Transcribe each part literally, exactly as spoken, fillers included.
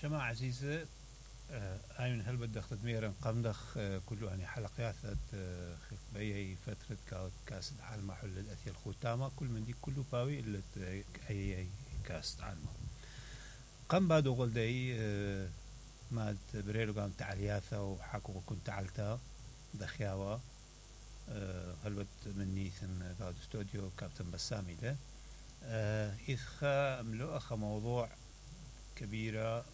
شماعة عزيزة هاي من هل بدك تدميرا قمدخ كله يعني حلقات بأي فترة كاس العالم حل الأثير الختامة كل من دي كله باوي إلا أي كاس العالم قم بعد وقل داي ما بريلو قام تعلياثا وحكوا كنت تعلتا دخياوة هلبت مني ثن قاعد استوديو كابتن بسامي له إذا ملو أخ موضوع كبيرة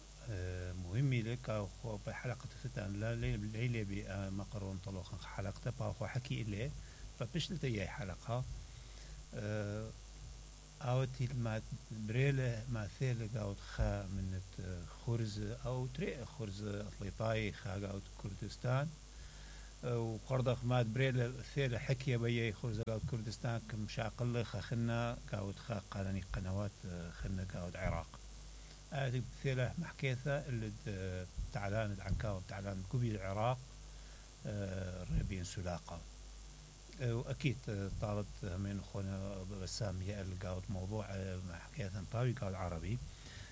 مهمة لك أو بحلقة فتان لا ليلة بمقرون طلوخ حلقة باخو حكي إليه فبشلت أي حلقة أوتي ما بريلة ما ثيل قاعد خا من خرز أو تري خرز أطليطاي خا قاعد كردستان وقرضخ ما بريلة ثيل حكي بيي خرز قاعد كردستان كم شاقل خا خنا قاعد خا قانوني قنوات خنا قاعد عراق هذه ثيله محكيثة اللي تعلان العنكاو تعلان كوبي العراق ربين سلاقة وأكيد طالت من أخونا بسام اللي قاعد موضوع محكيثا طاوي قاعد عربي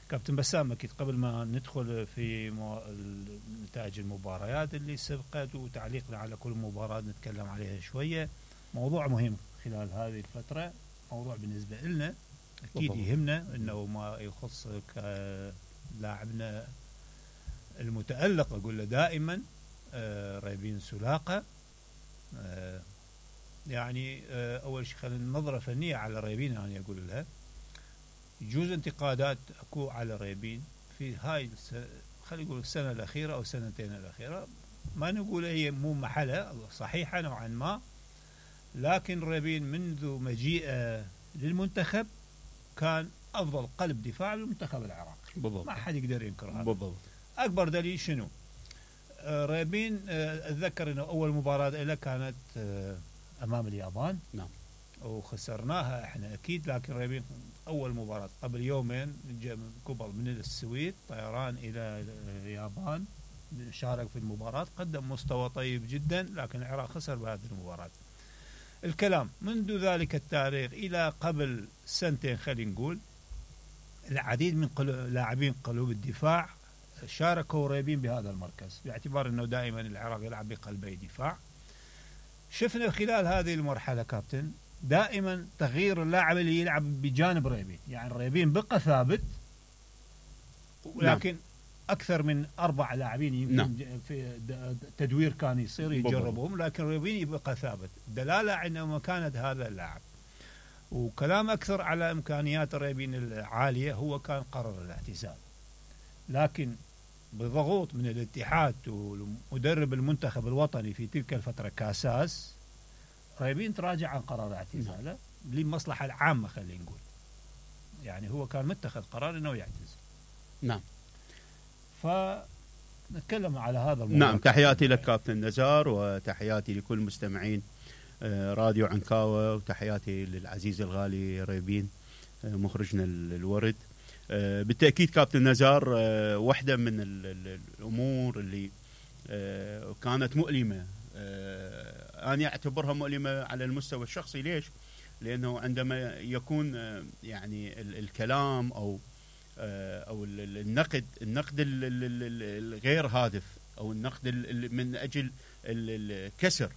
كابتن بسام أكيد قبل ما ندخل في نتائج المباريات اللي سبقت وتعليقنا على كل مباراة نتكلم عليها شوية موضوع مهم خلال هذه الفترة موضوع بالنسبة لنا أكيد يهمنا إنه ما يخص لاعبنا المتألق أقول له دائما آه ريبين سلاقة آه يعني آه أول شيء خلينا نظرة فنية على ريبين أنا يعني أقول لها يجوز انتقادات أكو على ريبين في هاي خلينا نقول السنة الأخيرة أو السنتين الأخيرة ما نقول هي مو محلة صحيحة نوعا ما لكن ريبين منذ مجيئه للمنتخب كان أفضل قلب دفاع للمنتخب العراقي بالضبط. ما حد يقدر ينكر هذا بالضبط. أكبر دليل شنو آه ريبين آه أتذكر أنه أول مباراة له كانت آه أمام اليابان نعم وخسرناها إحنا أكيد لكن ريبين أول مباراة قبل يومين قبل من السويد طيران إلى اليابان شارك في المباراة قدم مستوى طيب جدا لكن العراق خسر بهذه المباراة الكلام منذ ذلك التاريخ إلى قبل سنتين خلينا نقول العديد من لاعبين قلوب الدفاع شاركوا ريبين بهذا المركز باعتبار أنه دائما العراق يلعب بقلبي دفاع شفنا خلال هذه المرحلة كابتن دائما تغيير اللاعب اللي يلعب بجانب ريبين يعني ريبين بقى ثابت ولكن نعم. أكثر من أربع لاعبين يمكن نعم. في تدوير كان يصير يجربهم لكن ريبين يبقى ثابت دلالة على مكانة هذا اللاعب وكلام أكثر على إمكانيات ريبين العالية هو كان قرر الاعتزال لكن بضغوط من الاتحاد ومدرب المنتخب الوطني في تلك الفترة كاساس ريبين تراجع عن قرار اعتزاله نعم. للمصلحة العامة خلينا نقول يعني هو كان متخذ قرار أنه يعتزل نعم فنتكلم على هذا الموضوع نعم تحياتي لك كابتن نزار وتحياتي لكل مستمعين راديو عنكاوة وتحياتي للعزيز الغالي ريبين مخرجنا الورد بالتأكيد كابتن نزار واحدة من الأمور اللي كانت مؤلمة أنا أعتبرها مؤلمة على المستوى الشخصي ليش؟ لأنه عندما يكون يعني الكلام أو أو النقد النقد الغير هادف أو النقد من أجل الكسر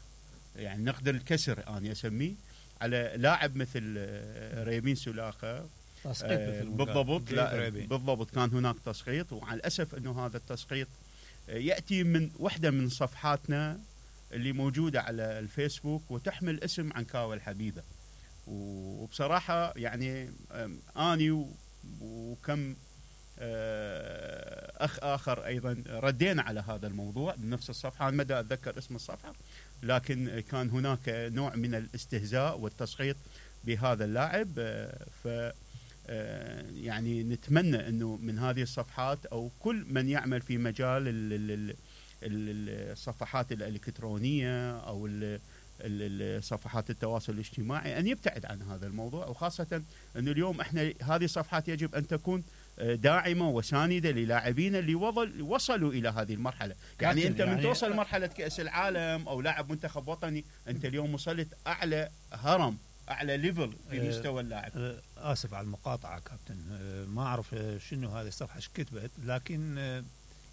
يعني نقد الكسر أنا أسميه على لاعب مثل ريبين سلاقة آه بالضبط لا بالضبط كان هناك تسقيط وعلى الأسف أنه هذا التسقيط يأتي من واحدة من صفحاتنا اللي موجودة على الفيسبوك وتحمل اسم عنكاوة الحبيبة وبصراحة يعني آني وكم أخ آخر أيضا ردينا على هذا الموضوع بنفس الصفحة ما دا أتذكر اسم الصفحة لكن كان هناك نوع من الاستهزاء والتسقيط بهذا اللاعب ف يعني نتمنى أنه من هذه الصفحات أو كل من يعمل في مجال الصفحات الإلكترونية أو صفحات التواصل الاجتماعي أن يبتعد عن هذا الموضوع وخاصة أنه اليوم إحنا هذه الصفحات يجب أن تكون داعمة وساندة للاعبين اللي وصلوا إلى هذه المرحلة يعني أنت من يعني توصل مرحلة كأس العالم أو لاعب منتخب وطني أنت اليوم وصلت أعلى هرم اعلى ليفل في مستوى اللاعب. اسف على المقاطعه كابتن، ما اعرف شنو هذه الصفحه ايش كتبت، لكن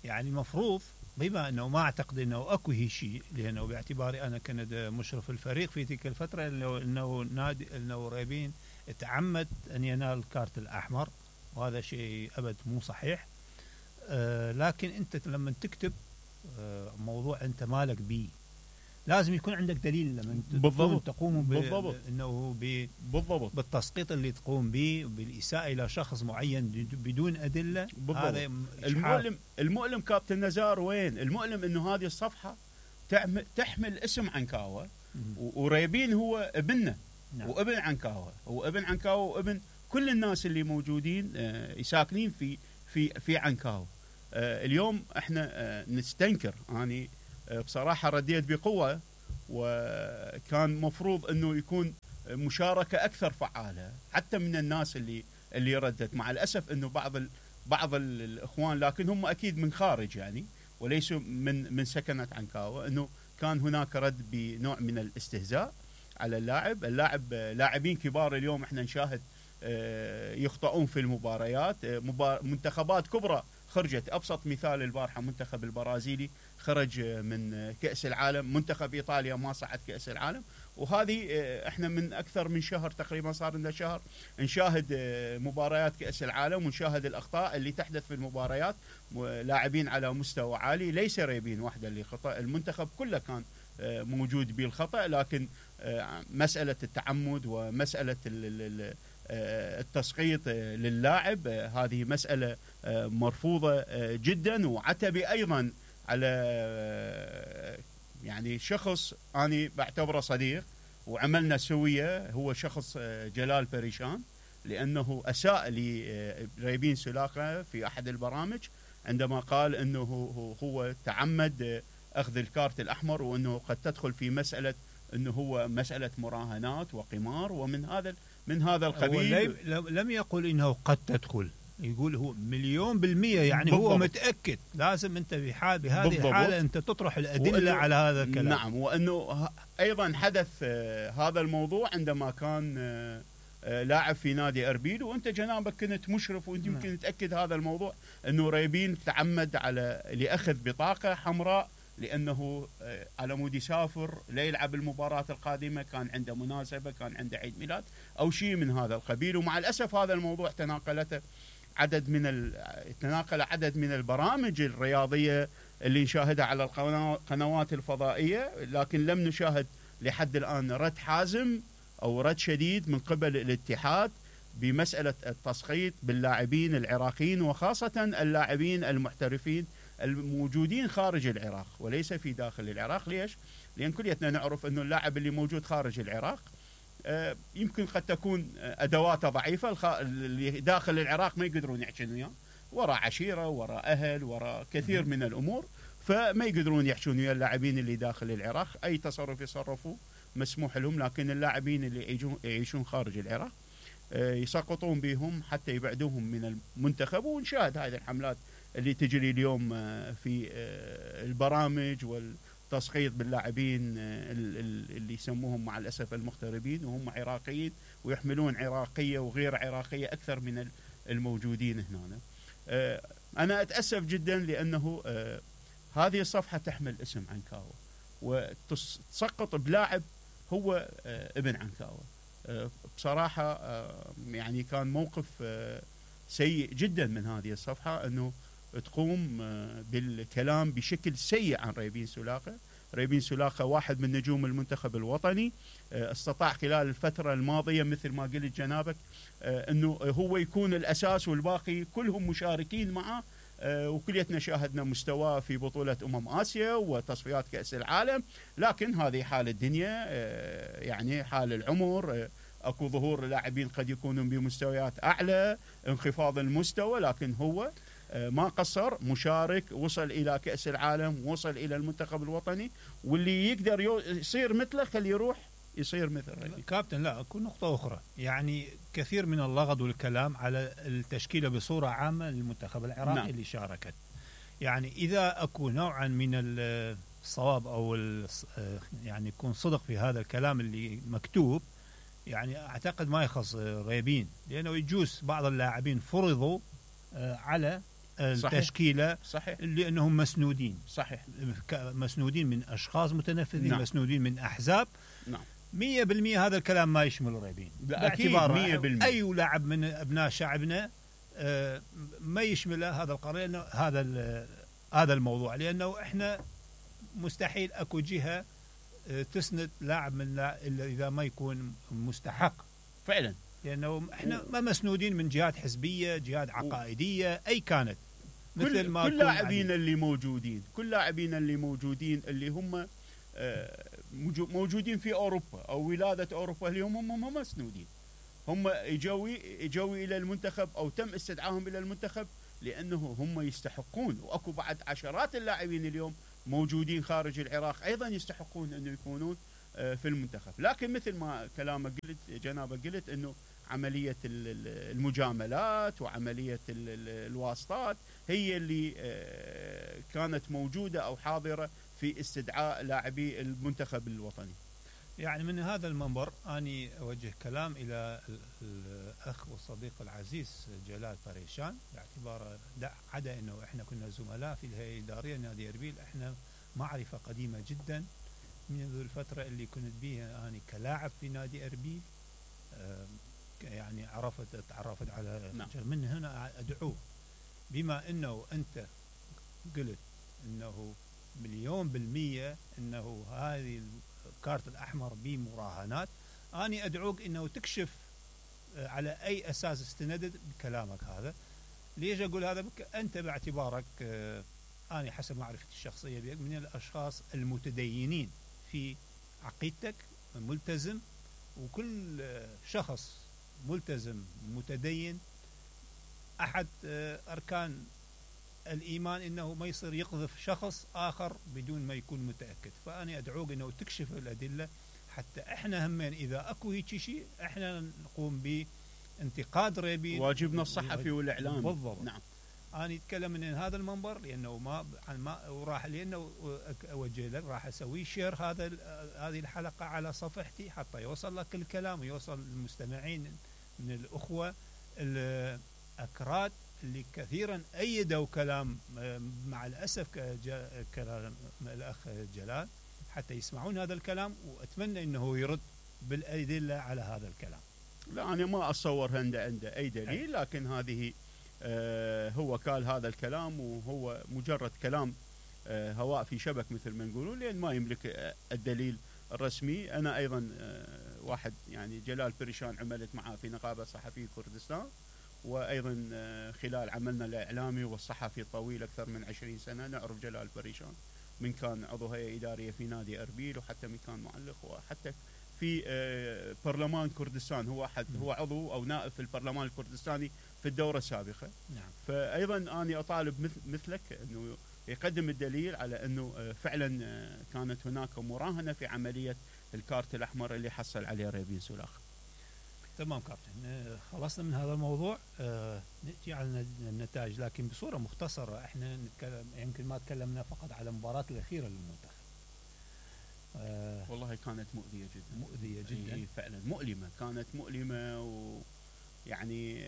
يعني المفروض بما انه ما اعتقد انه اكو هي شيء، لانه باعتباري انا كنت مشرف الفريق في تلك الفتره، انه انه نادي انه ريبين تعمد ان ينال الكارت الاحمر، وهذا شيء ابد مو صحيح. آه لكن انت لما تكتب آه موضوع انت مالك بيه لازم يكون عندك دليل لما بالضبط تقوم بالضبط انه بالضبط بالتسقيط اللي تقوم به بالاساءه الى شخص معين بدون ادله. بالضبط. هذا المؤلم المؤلم كابتن نزار وين المؤلم؟ انه هذه الصفحه تحمل اسم عنكاوه، وريبين هو ابننا. نعم. وابن عنكاوه، هو ابن عنكاوه وابن كل الناس اللي موجودين ساكنين في في في عنكاوه. اليوم احنا نستنكر، اني بصراحه رديت بقوه، وكان مفروض انه يكون مشاركه اكثر فعاله حتى من الناس اللي اللي ردت. مع الاسف انه بعض ال بعض الاخوان، لكن هم اكيد من خارج يعني وليسوا من من سكنه عنكاوه، انه كان هناك رد بنوع من الاستهزاء على اللاعب. اللاعب لاعبين كبار اليوم احنا نشاهد يخطئون في المباريات، منتخبات كبرى خرجت. ابسط مثال البارحه منتخب البرازيلي خرج من كأس العالم، منتخب ايطاليا ما صعد كأس العالم. وهذه احنا من اكثر من شهر تقريبا، صار لنا شهر نشاهد مباريات كأس العالم ونشاهد الاخطاء اللي تحدث في المباريات، لاعبين على مستوى عالي، ليس ريبين وحده اللي خطأ، المنتخب كله كان موجود بالخطأ. لكن مسألة التعمد ومسألة التسقيط للاعب هذه مسألة مرفوضة جدا. وعتبي أيضا على يعني شخص أنا بعتبره صديق وعملنا سوية، هو شخص جلال بريشان، لأنه أساء لريبين سولاخة في أحد البرامج عندما قال أنه هو تعمد أخذ الكارت الأحمر، وأنه قد تدخل في مسألة أنه هو مسألة مراهنات وقمار ومن هذا من هذا القبيل. لم يقل إنه قد تدخل، يقول هو مليون بالمية، يعني بالضبط. هو متأكد. لازم أنت بحال بهذه بالضبط. الحالة أنت تطرح الأدلة على هذا الكلام. نعم، وأنه أيضا حدث هذا الموضوع عندما كان لاعب في نادي أربيل، وأنت جنابك كنت مشرف، وأنت يمكن نعم. تأكد هذا الموضوع، أنه ريبين تعمد على لأخذ بطاقة حمراء لأنه على مود يسافر ليلعب المباراة القادمة، كان عنده مناسبة، كان عنده عيد ميلاد أو شيء من هذا القبيل. ومع الأسف هذا الموضوع تناقلته عدد من ال... تناقل عدد من البرامج الرياضية اللي نشاهدها على القنوات الفضائية، لكن لم نشاهد لحد الآن رد حازم أو رد شديد من قبل الاتحاد بمسألة التسقيط باللاعبين العراقيين، وخاصة اللاعبين المحترفين الموجودين خارج العراق وليس في داخل العراق. ليش؟ لأن كليتنا نعرف أنه اللاعب اللي موجود خارج العراق يمكن قد تكون أدواته ضعيفة، اللي داخل العراق ما يقدرون يحكون وياه، وراء عشيرة، وراء أهل، وراء كثير من الأمور، فما يقدرون يحكون ويا اللاعبين اللي داخل العراق. أي تصرف يصرفوا مسموح لهم، لكن اللاعبين اللي يعيشون خارج العراق يسقطون بهم حتى يبعدوهم من المنتخب. ونشاهد هذه الحملات اللي تجري اليوم في البرامج والتسقيط باللاعبين اللي يسموهم مع الأسف المغتربين، وهم عراقيين ويحملون عراقية وغير عراقية أكثر من الموجودين هنا. أنا أتأسف جدا لأنه هذه الصفحة تحمل اسم عنكاوة وتسقط بلاعب هو ابن عنكاوة. بصراحة يعني كان موقف سيء جدا من هذه الصفحة أنه تقوم بالكلام بشكل سيء عن ريبين سولاخة. ريبين سولاخة واحد من نجوم المنتخب الوطني، استطاع خلال الفترة الماضية مثل ما قلت جنابك أنه هو يكون الأساس والباقي كلهم مشاركين معه، وكليتنا شاهدنا مستواه في بطولة أمم آسيا وتصفيات كأس العالم. لكن هذه حال الدنيا، يعني حال العمر، أكو ظهور لاعبين قد يكونون بمستويات أعلى، انخفاض المستوى، لكن هو ما قصر، مشارك، وصل إلى كأس العالم، وصل إلى المنتخب الوطني، واللي يقدر يصير مثله خليه يروح يصير مثله. كابتن، لا أكو نقطة أخرى، يعني كثير من اللغط والكلام على التشكيلة بصورة عامة للمنتخب العراقي. نعم. اللي شاركت، يعني إذا أكو نوعا من الصواب أو يعني يكون صدق في هذا الكلام اللي مكتوب، يعني اعتقد ما يخص ريبين، لانه يجوز بعض اللاعبين فرضوا على التشكيله صحيح لانهم مسنودين صحيح مسنودين من اشخاص متنفذين، نعم. مسنودين من احزاب. نعم مية بالمية هذا الكلام ما يشمل ريبين، باعتبار اي لاعب من ابناء شعبنا ما يشمله هذا القرار، لانه هذا هذا الموضوع، لانه احنا مستحيل اكو جهه تسند لاعب من لا الا اذا ما يكون مستحق فعلا، لانه احنا ما مسنودين من جهات حزبيه، جهات عقائديه اي كانت. مثل كل ما كل لاعبين اللي موجودين كل لاعبين اللي موجودين اللي هم موجودين في اوروبا او ولاده اوروبا، اللي هم هم مسنودين، هم اجوا اجوا الى المنتخب او تم استدعائهم الى المنتخب لانه هم يستحقون. واكو بعد عشرات اللاعبين اليوم موجودين خارج العراق ايضا يستحقون انه يكونون في المنتخب. لكن مثل ما كلامك قلت جنابك قلت انه عمليه المجاملات وعمليه الواسطات هي اللي كانت موجوده او حاضره في استدعاء لاعبي المنتخب الوطني. يعني من هذا المنبر اني اوجه كلام الى الاخ والصديق العزيز جلال بريشان، باعتباره عدا انه احنا كنا زملاء في الهيئه الاداريه نادي اربيل، احنا معرفه قديمه جدا منذ الفتره اللي كنت بيها اني كلاعب في نادي اربيل. يعني عرفت تعرفت على نعم. من هنا ادعوه، بما انه انت قلت انه مليون بالمية انه هذه الكارت الاحمر بمراهنات، اني ادعوك انه تكشف على اي اساس استندت بكلامك هذا. ليش اقول هذا؟ بك انت باعتبارك اني حسب معرفتي الشخصيه بك من الاشخاص المتدينين في عقيدتك، ملتزم، وكل شخص ملتزم متدين احد اركان الايمان انه ما يصير يقذف شخص اخر بدون ما يكون متاكد. فانا ادعوك انه تكشف الادله حتى احنا همين اذا اكو هيك شيء احنا نقوم بانتقاد ريبين، واجبنا الصحفي والاعلامي. بالضبط. نعم. انا اتكلم من هذا المنبر لانه ما ما وراح لانه اوجه لك راح اسوي شير هذا هذه الحلقه على صفحتي حتى يوصل لك الكلام ويوصل للمستمعين من الاخوه الاكراد اللي كثيرا ايدوا كلام مع الاسف كلام الاخ جلال حتى يسمعون هذا الكلام، واتمنى انه يرد بالادله على هذا الكلام. لا انا ما اتصور عنده عنده اي دليل، لكن هذه آه هو قال هذا الكلام وهو مجرد كلام آه هواء في شبك مثل ما نقولون، لان ما يملك آه الدليل الرسمي. انا ايضا آه واحد يعني جلال بريشان عملت معه في نقابه صحفي كردستان، وايضا آه خلال عملنا الاعلامي والصحفي الطويل اكثر من عشرين سنه نعرف جلال بريشان، من كان عضو هيئه اداريه في نادي اربيل، وحتى من كان معلق، وحتى في آه برلمان كردستان، هو احد هو عضو او نائب في البرلمان الكردستاني في الدوره السابقه. نعم. فايضا انا اطالب مثلك انه يقدم الدليل على انه فعلا كانت هناك مراهنه في عمليه الكارت الاحمر اللي حصل عليه ريبين سولاخ. تمام كابتن، خلصنا من هذا الموضوع. آه ناتي على النتائج لكن بصوره مختصره. احنا نتكلم يمكن ما تكلمنا فقط على المباراه الاخيره للمنتخب. آه والله كانت مؤذيه جدا مؤذيه جدا فعلا، مؤلمه، كانت مؤلمه، ويعني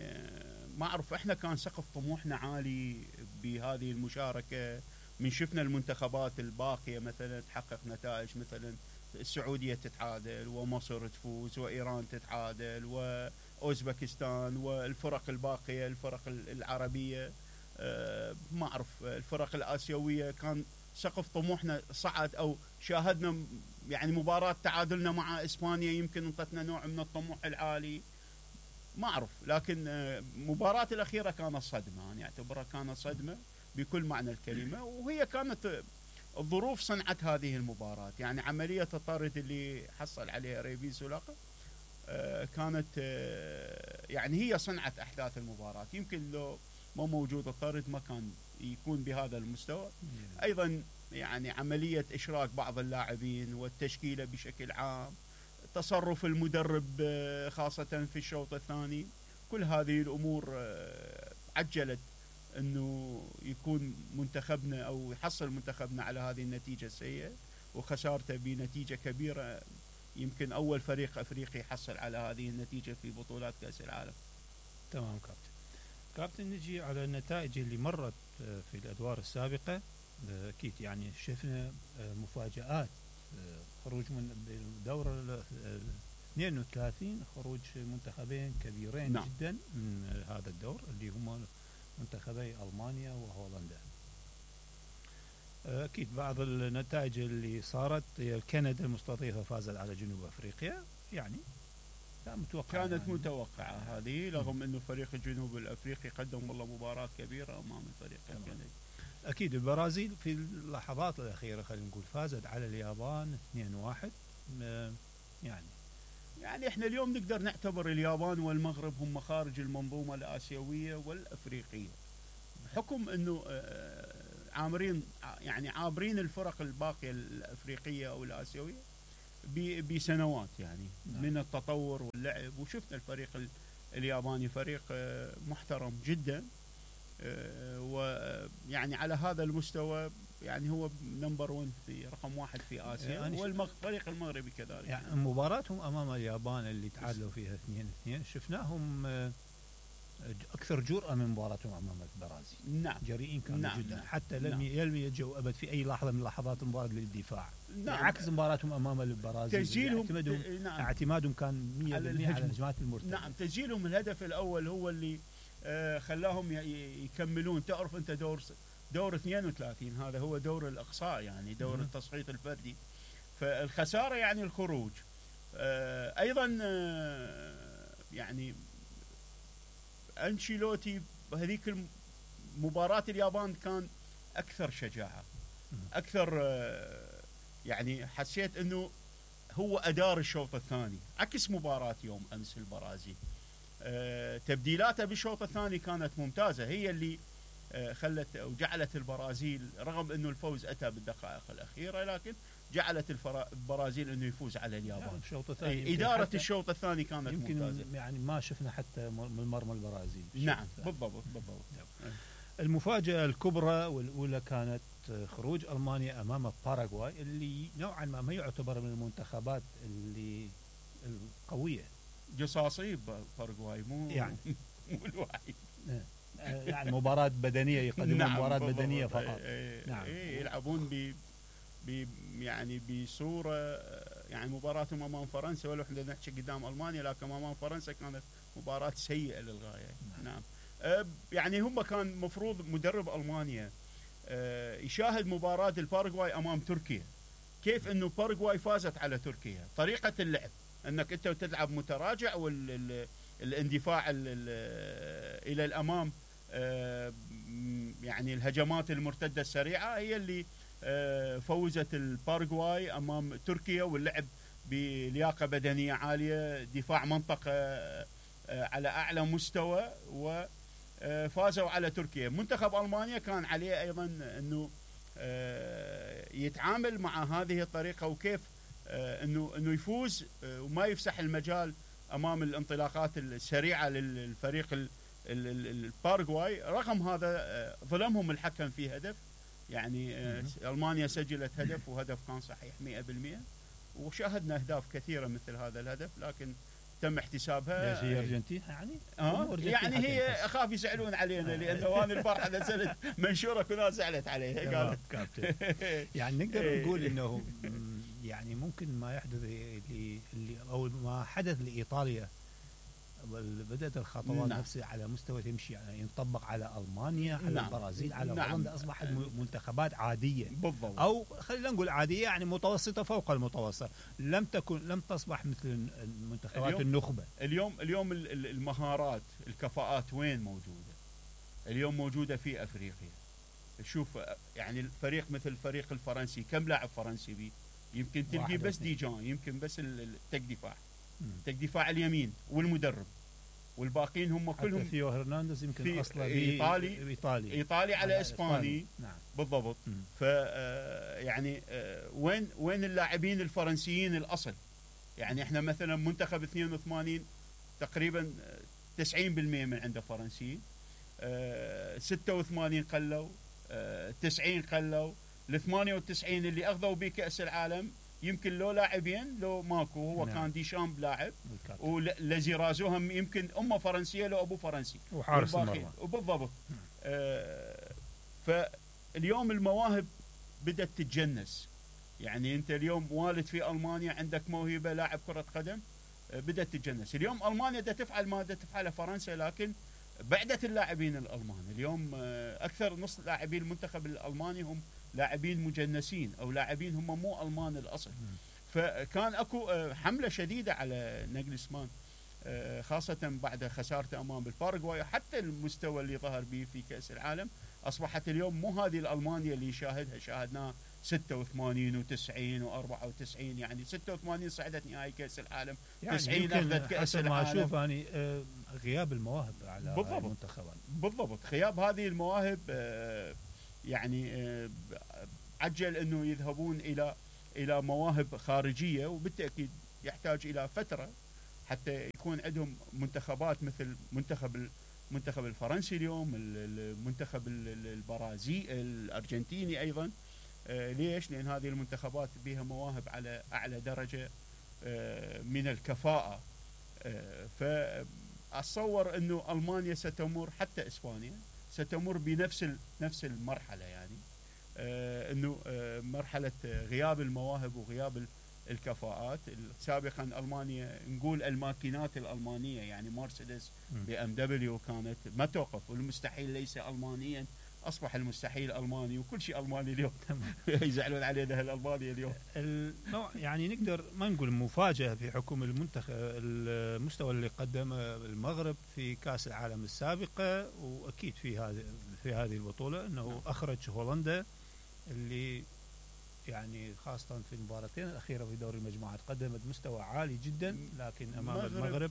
ما اعرف احنا كان سقف طموحنا عالي بهذه المشاركه. من شفنا المنتخبات الباقيه مثلا تحقق نتائج، مثلا السعوديه تتعادل ومصر تفوز وايران تتعادل واوزبكستان والفرق الباقيه الفرق العربيه، أه ما اعرف الفرق الاسيويه كان سقف طموحنا صعد، او شاهدنا يعني مباراه تعادلنا مع اسبانيا يمكن انطتنا نوع من الطموح العالي، ما اعرف. لكن المباراه الاخيره كانت صدمه، انا يعني اعتبرها كانت صدمه بكل معنى الكلمه، وهي كانت الظروف صنعت هذه المباراه. يعني عمليه الطرد اللي حصل عليها ريبين سولاخ كانت يعني هي صنعت احداث المباراه. يمكن لو ما موجود الطرد ما كان يكون بهذا المستوى. ايضا يعني عمليه اشراك بعض اللاعبين والتشكيله بشكل عام، تصرف المدرب خاصه في الشوط الثاني، كل هذه الامور عجلت انه يكون منتخبنا او يحصل منتخبنا على هذه النتيجه السيئه وخسارته بنتيجه كبيره. يمكن اول فريق افريقي يحصل على هذه النتيجه في بطولات كاس العالم. تمام كابتن. كابتن نجي على النتائج اللي مرت في الادوار السابقه. اكيد يعني شفنا مفاجآت، خروج من الدوره اثنين وثلاثين، خروج منتخبين كبيرين نعم. جدا من هذا الدور اللي هما منتخبي المانيا وهولندا. اكيد بعض النتائج اللي صارت، كندا المستضيفه فازت على جنوب افريقيا، يعني متوقع كانت يعني متوقعه هذه، رغم انه فريق الجنوب الافريقي قدم والله مباراه كبيره امام الفريق الكندي. اكيد البرازيل في اللحظات الاخيره خلينا نقول فازت على اليابان اثنين واحد. يعني يعني احنا اليوم نقدر نعتبر اليابان والمغرب هم خارج المنظومه الاسيويه والافريقيه، بحكم انه عامرين يعني عابرين الفرق الباقيه الافريقيه او الاسيويه بسنوات يعني نعم. من التطور واللعب، وشفنا الفريق الياباني فريق محترم جدا، ويعني على هذا المستوى يعني هو نمبر ون في رقم واحد في اسيا، يعني والفريق المغربي كذلك. يعني مباراتهم امام اليابان اللي تعادلوا فيها اثنين اثنين شفناهم اكثر جرأة من مباراتهم امام البرازيل. نعم جريئين كانوا نعم جدا، نعم. حتى لم نعم. يلجوا ابد في اي لحظه من لحظات المباراه للدفاع. نعم. عكس مباراتهم امام البرازيل تسجيلهم اعتمادهم نعم. اعتمادهم كان مية بالمية على الهجمات المرتده. نعم تسجيلهم الهدف الاول هو اللي آه خلاهم يكملون. تعرف انت دور دور اثنين وثلاثين هذا هو دور الاقصاء، يعني دور م- التصعيد الفردي، فالخساره يعني الخروج. آه ايضا آه يعني أنشيلوتي بهذيك مباراة اليابان كان أكثر شجاعة، أكثر يعني حسيت أنه هو أدار الشوط الثاني عكس مباراة يوم أمس البرازيل. تبديلاته بالشوط الثاني كانت ممتازة، هي اللي خلت أو جعلت البرازيل رغم أنه الفوز أتى بالدقائق الأخيرة، لكن جعلت البرازيل انه يفوز على اليابان. يعني الشوط الثاني اداره الشوط الثاني كانت يمكن ممتازه، يعني ما شفنا حتى من مرمى البرازيل. نعم بالضبط بالضبط. المفاجاه الكبرى والاولى كانت خروج المانيا امام باراغواي، اللي نوعا ما ما يعتبر من المنتخبات اللي القويه. جصاصي باراغواي مو يعني مو الوحيد. يعني مباراه بدنيه يقدمون نعم مباراه بدنيه فقط. ايه نعم ايه يلعبون ب يعني بصوره يعني مباراتهم امام فرنسا، ولو احنا نحكي قدام المانيا، لكن امام فرنسا كانت مباراه سيئه للغايه. نعم, نعم. أه يعني هم كان مفروض مدرب المانيا أه يشاهد مباراه الباراغواي امام تركيا، كيف انه باراغواي فازت على تركيا، طريقه اللعب انك انت تلعب متراجع والاندفاع الى الامام، أه يعني الهجمات المرتده السريعه هي اللي فوزت الباراغواي امام تركيا، واللعب بلياقه بدنيه عاليه، دفاع منطقه على اعلى مستوى، وفازوا على تركيا. منتخب المانيا كان عليه ايضا انه يتعامل مع هذه الطريقه، وكيف انه انه يفوز وما يفسح المجال امام الانطلاقات السريعه للفريق الباراغواي. رغم هذا ظلمهم الحكم في هدف، يعني ألمانيا سجلت هدف وهدف كان صحيح مئة بالمئة، وشاهدنا أهداف كثيرة مثل هذا الهدف لكن تم احتسابها. ليش هي أرجنتين يعني؟ آه يعني هي أخاف يزعلون علينا لأنه أنا البارحة نزلت منشورة كلها زعلت عليها قالت كابتن. يعني نقدر نقول إنه يعني ممكن ما يحدث اللي أو ما حدث لإيطاليا بدأت الخطوات نعم. نفسها على مستوى تمشي يعني ينطبق على ألمانيا، على نعم. البرازيل، على نعم. هولندا، أصبحت منتخبات عادية بالضبط. أو خلينا نقول عادية يعني متوسطة فوق المتوسط، لم تكن لم تصبح مثل المنتخبات اليوم النخبة. اليوم اليوم المهارات الكفاءات وين موجودة؟ اليوم موجودة في أفريقيا. شوف يعني الفريق مثل الفريق الفرنسي كم لاعب فرنسي بيه؟ يمكن تلقي بس ديجان، يمكن بس التك دفاع تك دفاع اليمين والمدرب، والباقيين هم كلهم. حتى ثيو هرنانديز يمكن اصلا ايطالي ايطالي ايطالي على اسباني. نعم بالضبط. ف يعني وين وين اللاعبين الفرنسيين الاصل؟ يعني احنا مثلا منتخب اثنين وثمانين تقريبا تسعين بالمئة من عنده فرنسيين، ستة وثمانين قلوا، تسعين قلوا، ال ثمانية وتسعين اللي اخذوا به كاس العالم يمكن لو لاعبين لو ماكو هو نعم. كان ديشامب لاعب بالكابتن. والذي رازوهم يمكن امه فرنسيه لو ابوه فرنسي وحارس والباقي- المرمى. وبالضبط. آه فاليوم المواهب بدات تتجنس. يعني انت اليوم والد في المانيا عندك موهبه لاعب كره قدم، آه بدات تتجنس. اليوم المانيا بدها تفعل ما بدها تفعله فرنسا، لكن بعدت اللاعبين الالمان. اليوم آه اكثر نص لاعبين المنتخب الالماني هم لاعبين مجنسين او لاعبين هم مو المان الاصل. فكان اكو آه حمله شديده على ناجلسمان، آه خاصه بعد خسارته امام الباراغواي. حتى المستوى اللي ظهر به في كاس العالم اصبحت اليوم مو هذه الالمانيا اللي شاهدها شاهدناها ستة وثمانين وتسعين وأربعة وتسعين. يعني ستة وثمانين صعدت نهائي كاس العالم، يعني تسعين اخذت كاس حسب ما العالم. اشوف اني آه، غياب المواهب على بالضبط. المنتخبات. بالضبط. غياب هذه المواهب آه يعني آه عجل انه يذهبون الى الى مواهب خارجيه، وبالتاكيد يحتاج الى فتره حتى يكون عندهم منتخبات مثل منتخب المنتخب الفرنسي اليوم، المنتخب البرازيلي الارجنتيني ايضا. آه ليش؟ لان هذه المنتخبات بها مواهب على اعلى درجه آه من الكفاءه. آه فاتصور انه المانيا ستمر، حتى اسبانيا ستمر بنفس نفس المرحله. يعني آه انه آه مرحله غياب المواهب وغياب الكفاءات. سابقا المانيا نقول الماكينات الالمانيه، يعني مرسيدس بي ام دبليو كانت ما توقف، والمستحيل ليس المانيا اصبح المستحيل الماني، وكل شيء الماني اليوم. يزعلون علينا الالماني اليوم. النوع يعني نقدر ما نقول مفاجاه في حكم المنتخب المستوى اللي قدمه المغرب في كاس العالم السابقه، واكيد في هذه في هذه البطوله انه اخرج هولندا اللي يعني خاصة في المباراتين الأخيرة في دوري المجموعات قدمت مستوى عالي جدا، لكن أمام المغرب, المغرب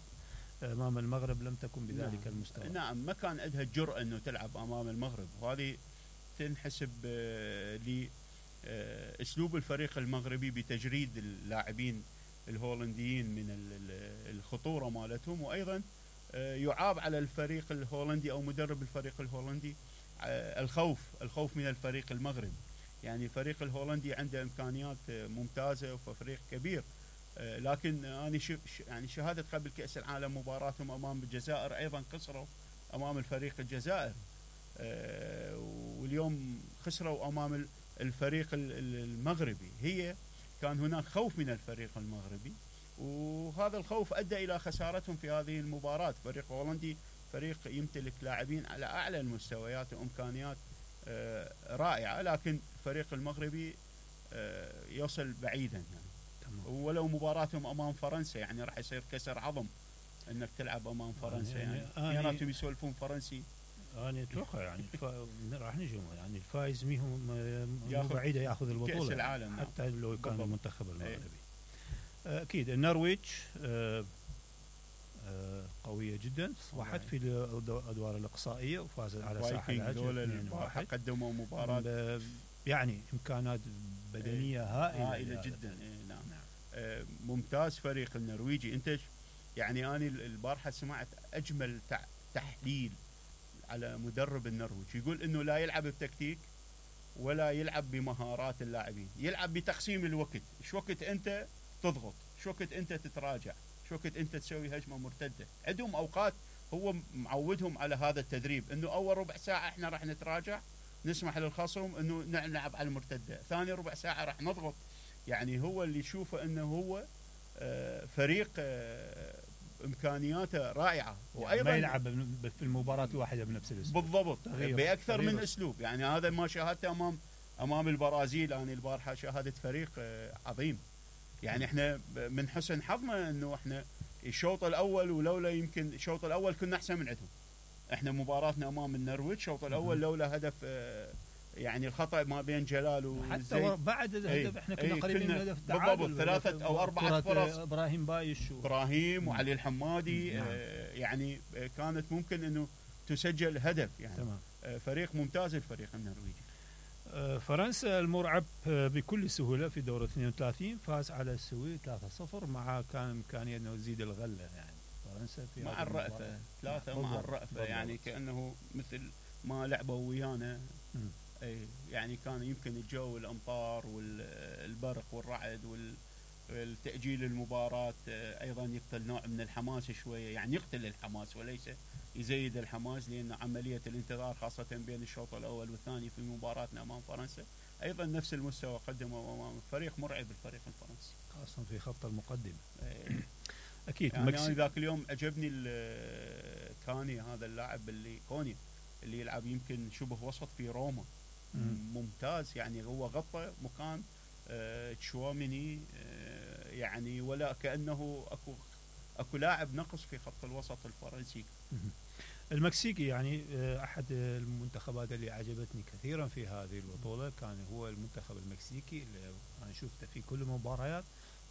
أمام المغرب لم تكن بذلك نعم. المستوى. نعم، ما كان عندها الجرأة أنه تلعب أمام المغرب، وهذه تنحسب لأسلوب الفريق المغربي بتجريد اللاعبين الهولنديين من الخطورة مالتهم، وأيضا يعاب على الفريق الهولندي أو مدرب الفريق الهولندي الخوف الخوف من الفريق المغربي. يعني الفريق الهولندي عنده إمكانيات ممتازة وفريق كبير، لكن أنا يعني شهادة قبل كأس العالم مباراتهم أمام الجزائر أيضا خسروا أمام الفريق الجزائري، واليوم خسروا أمام الفريق المغربي. هي كان هناك خوف من الفريق المغربي، وهذا الخوف أدى إلى خسارتهم في هذه المباراة. فريق هولندي فريق يمتلك لاعبين على أعلى المستويات وإمكانيات رائعة، لكن الفريق المغربي يوصل بعيدا يعني. ولو مباراتهم أمام فرنسا يعني راح يصير كسر عظم أنك تلعب أمام فرنسا. يعني اثنيناتهم يسولفون فرنسي. أنا أتوقع يعني راح نجم يعني الفائز ميهم مو بعيدة يأخذ البطولة كأس العالم حتى لو كان المنتخب المغربي. أكيد النرويج قوية جدا، صبحت في الأدوار الإقصائية وفازت على ساحل العجل. قدموا مباراة يعني إمكانات بدنية هائلة, هائلة جدا. إيه نعم. نعم. آه ممتاز فريق النرويجي. أنت يعني أنا البارحة سمعت أجمل تحليل على مدرب النرويج، يقول إنه لا يلعب بتكتيك ولا يلعب بمهارات اللاعبين، يلعب بتقسيم الوقت. شو وقت أنت تضغط، شو وقت أنت تتراجع، شو وقت أنت تسوي هجمة مرتدة. عندهم أوقات هو معودهم على هذا التدريب، إنه أول ربع ساعة إحنا راح نتراجع نسمح للخصم انه نلعب على المرتده، ثاني ربع ساعه راح نضغط. يعني هو اللي يشوفه انه هو فريق امكانياته رائعه، وايضا يعني ما يلعب في المباراه الواحده بنفس الاسلوب. بالضبط، باكثر من اسلوب. يعني هذا ما شاهدته امام امام البرازيل. انا البارحه شاهدت فريق عظيم. يعني احنا من حسن حظنا انه احنا الشوط الاول، ولولا يمكن الشوط الاول كنا احسن من عندهم. احنا مباراتنا امام النرويج الشوط الاول لولا هدف يعني الخطا ما بين جلال وزيد، حتى بعد الهدف احنا كنا قريبين من هدف التعادل. بالضبط، ثلاثه او اربعه فرص ابراهيم بايش و... ابراهيم وعلي الحمادي. آه يعني كانت ممكن انه تسجل هدف. يعني تمام. آه فريق ممتاز الفريق النرويجي. آه فرنسا المرعب بكل سهوله في دور اثنين وثلاثين فاز على السويد ثلاثة صفر، مع كان امكانيه انه يزيد الغله. يعني فرنسا في مع الرأفة ثلاثة مع الرأفة، يعني كأنه مثل ما لعبوا ويانا اي يعني كان يمكن الجو الامطار والبرق والرعد والتاجيل المباراه ايضا يقتل نوع من الحماس شويه، يعني يقتل الحماس وليس يزيد الحماس، لان عمليه الانتظار خاصه بين الشوط الاول والثاني في مباراتنا امام فرنسا ايضا نفس المستوى قدمه امام فريق مرعب الفريق الفرنسي، خاصه في خط المقدمه. اي اكيد. يعني انا ذاك اليوم عجبني كاني، هذا اللاعب اللي كوني اللي يلعب يمكن شبه وسط في روما، ممتاز، يعني هو غطى مكان آه تشواميني، آه يعني ولا كأنه اكو اكو لاعب نقص في خط الوسط الفرنسي. المكسيكي يعني احد المنتخبات اللي عجبتني كثيرا في هذه البطوله كان هو المنتخب المكسيكي، اللي انا شفته في كل المباريات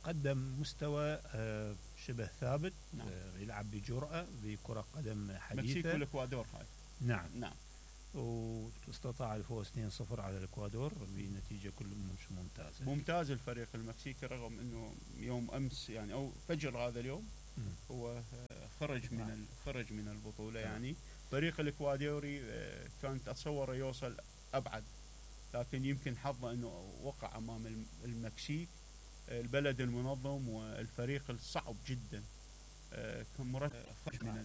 قدم مستوى آه شبه ثابت. نعم. آه يلعب بجرأة بكرة قدم حديثة. المكسيك والاكوادور هاي. نعم نعم. واستطاع الفوز اثنين صفر على الاكوادور بنتيجه كل مش ممتازه. ممتاز الفريق المكسيكي، رغم انه يوم امس يعني او فجر هذا اليوم م. هو خرج من نعم. خرج من البطوله. نعم. يعني فريق الاكوادوري كانت اتصور يوصل ابعد، لكن يمكن حظه انه وقع امام المكسيك، البلد المنظم والفريق الصعب جدا، كان مرتب خرج من